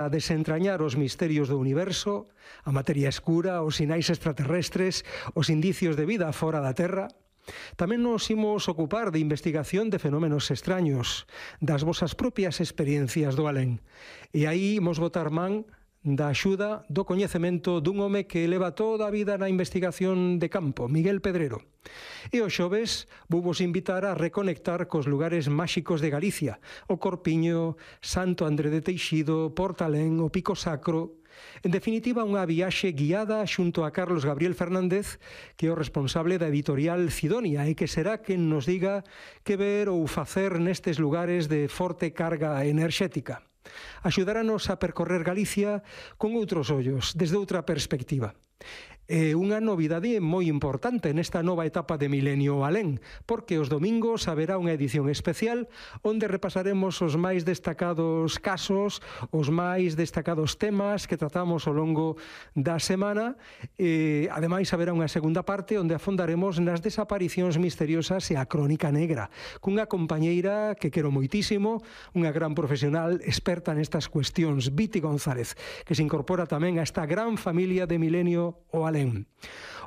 a desentrañar os misterios do universo, a materia escura, os sinais extraterrestres, os indicios de vida fora da Terra. Tamén nos imos ocupar de investigación de fenómenos extraños, das vosas propias experiencias do alén. E aí imos botar man da axuda do coñecemento dun home que leva toda a vida na investigación de campo, Miguel Pedrero. E os xoves vos invitar a reconectar cos lugares máxicos de Galicia, o Corpiño, Santo André de Teixido, Portalén, o Pico Sacro. En definitiva, unha viaxe guiada xunto a Carlos Gabriel Fernández, que é o responsable da editorial Cidonia e que será quen nos diga que ver ou facer nestes lugares de forte carga enerxética. Axudáranos a percorrer Galicia con outros ollos, desde outra perspectiva. É unha novidade moi importante nesta nova etapa de Milenio Alén, porque os domingos haberá unha edición especial onde repasaremos os máis destacados casos, os máis destacados temas que tratamos ao longo da semana. Ademais, haberá unha segunda parte onde afondaremos nas desaparicións misteriosas e a crónica negra, cunha compañeira que quero moitísimo, unha gran profesional experta nestas cuestións, Viti González, que se incorpora tamén a esta gran familia de Milenio o Alén.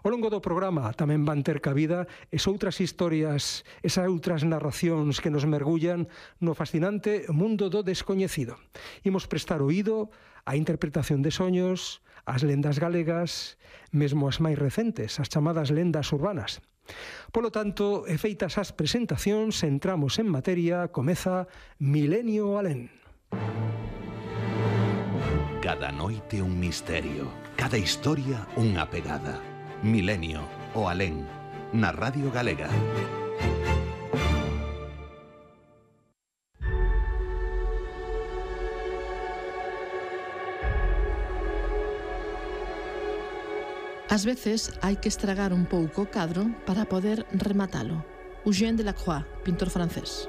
Ao longo do programa tamén van ter cabida esas outras historias, esas outras narracións que nos mergullan no fascinante mundo do descoñecido. Imos prestar oído á interpretación de soños, ás lendas galegas, mesmo as máis recentes, as chamadas lendas urbanas. Polo tanto, e feitas as presentacións, entramos en materia, comeza Milenio Alén. Cada noite un misterio, cada historia unha pegada. Milenio o Alén, na Radio Galega. Ás veces hai que estragar un pouco o cadro para poder rematalo. Eugène Delacroix, pintor francés.